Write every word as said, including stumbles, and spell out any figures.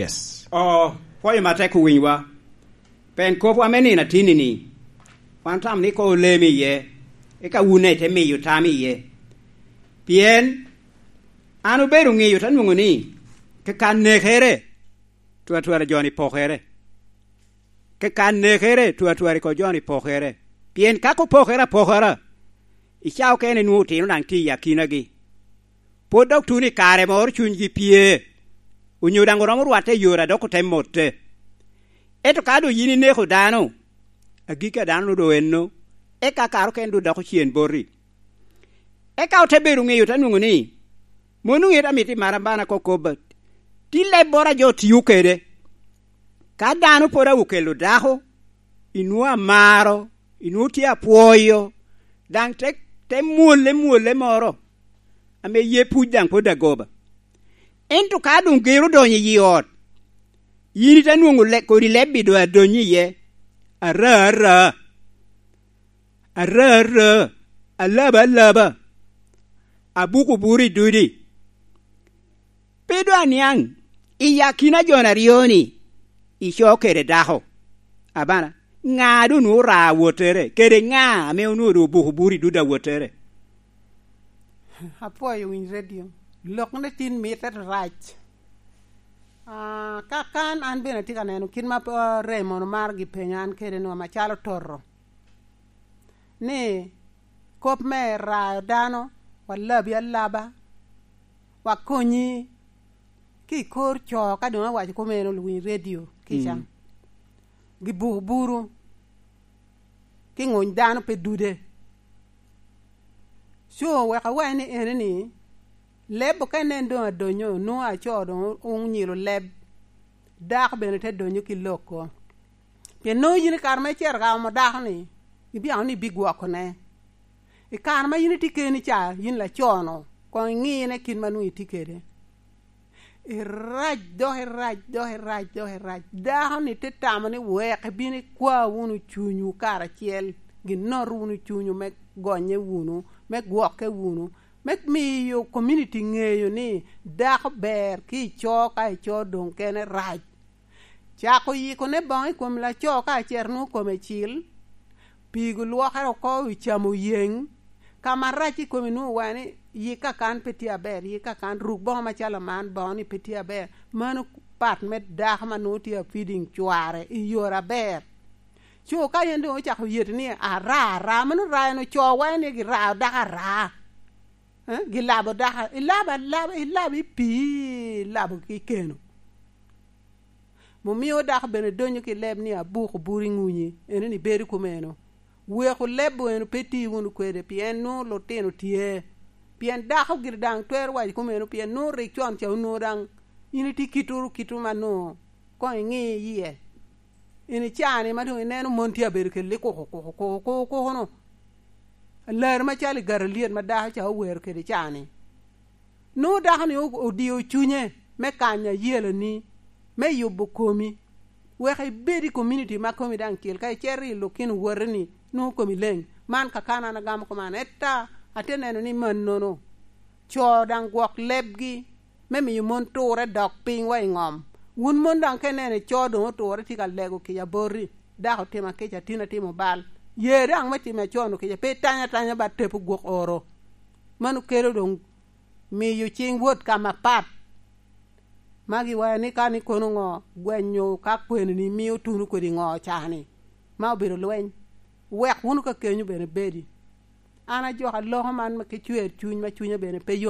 Yes. O, pwoyo matek owinywa. Pen kopwa me nino atinni-ni, wan tamo ni koŋ olem iye, eka wun ite miyo tam iye. Pien an obedo ŋeyo te nwoŋo ni, kaka nekere, twatwara jo-ni pokere. Kaka nekere, twatwara ko jo-ni pokere. Pien ka kopokere apokara, i cawa okene nwoŋo otino daŋ tye i akinagi. Pwod dok tuno i kare moro cunygi pye, onyo daŋ oromo rwatte i yore a dok ote motte. Ento ka doŋ yin ineko dano, agikki a dano-nu doŋ enno, eka kare okene doŋ doko cen boti. Eka ote bedo ŋeyo, te nwoŋo ni, mano ŋeyo amito i marambana ko kobba, ti lebboro a jo tio kede. Ka dano pwod a okelo dako, inwoŋo amaro, inwoŋo tye apwoyo, daŋ te, te mwolle mwolle moro, ame ye puc daŋ pwod agoba. Ento ka doŋ gero odonyo i yi ot, yin ite nwoŋo le-, kodi lebbi doŋ adonyo iye, ara ara, ara ara, alaba alaba, abuko buro i dudi. Pe doŋ aniaŋ, i akina jo aryo-ni, ico kede dako. Abana, ŋa doŋ nwoŋo ora awottere, kede ŋa ame onwoŋo doŋ obuko bur i dud awottere? Apwoyo winy redio. Lok ne tin mitte rac. Ah, ka kan an bene atye ka neno kit ma, ah, Raymond omaro gi penyo an kede nwa macalo toto. Ni kop me rayo dano, wa labi alaba, wa konyi ki i kor co, ka doŋ awaco komeno luwiny redio kica. Mm. Gi buku buru, ki ŋuny dano pe dude. Co wek awac ni ene ni, leb okene en doŋ adonyo, nwoŋo aco doŋ onyilo leb, dako bene te donyo ki loko. Pien nwoŋo yin i kare ma icito ka omo dako-ni, ibiano ni ibigwokone. I kare ma yin itye keni ca, yin laco-nu, koŋ iŋine kit ma nwoŋo itye kede. Irac, dok irac, dok irac, dok irac. Dako-ni te tamo ni wek ibin ikwa wunu cunywu karacel, ginot wunu cunywu me gonye wunu, me gwokke wunu, me miyo community ŋeyo ni dako ber ki ico, ka ico doŋ kene rac. Cako yikone boŋo i kom laco ka acer nwoŋo kome cil, pigo lwokere oko i camo yeŋ, ka ma rac i kome nwoŋo wa ni yik kakan pe tye aber, yik kakan ruk boŋo macalo man boŋo ni pe tye aber. Mano pat me dako ma nwoŋo tye a feeding cware i yore aber. Co ka yen doŋ ocako yet ni ara, ara, mano ra en ocowa ni girao dako ara. Eh, gilabo dako, ilabo alaba, ilabo i pii, ilabo ki keno. Mumio dako bene donyo ki leb ni abuko buri ŋunyi, eno ni bedo kumeno. Weko leb eno pe ti wunu kwede, pien nwoŋo lutino tye. Pien dako gire daŋ twero waco kumeno, pien nwoŋo rik con ca onwoŋo daŋ in itye kituru, kitu ma nwoŋo koŋ iŋi iye. In icaa-ni ma doŋ ineno mon tye abedo kede kuku, kuku, kuku, kuku, kuku-nu. Alar macalo i garalyet ma dako ca owero kede caa-ni. Nwoŋo dako-ni o-, odio cunye me kanyo ayelani, me yubo komi. Wek ibed i community ma komi daŋ cil, ka icito i lukino woteni, nwoŋo komi leŋ. Man kakano an agamo kuman, etta ate neno ni mannono. Co daŋ gwok lebgi, me miyo mon turre dok piny wa i ŋom. Wun mon daŋ ka ineno ico doŋ oturre tye ka lego kica boti, dako otimo akica, tin atimo bal, ye daŋ me timo acon-nu kica, pe itany atanya ba tepo gwok oro. Mano kelo doŋ miyo cing wot ka mapat. Ma giwaco ni ka ni kono ŋo gwenyo ka kweni-ni mio tuno kodi ŋo cani, ma obedo lweny. Wek wunu ka kenyo bene bedi. An ajoko aloko man ma ki cwer cuny, ma cunya bene pe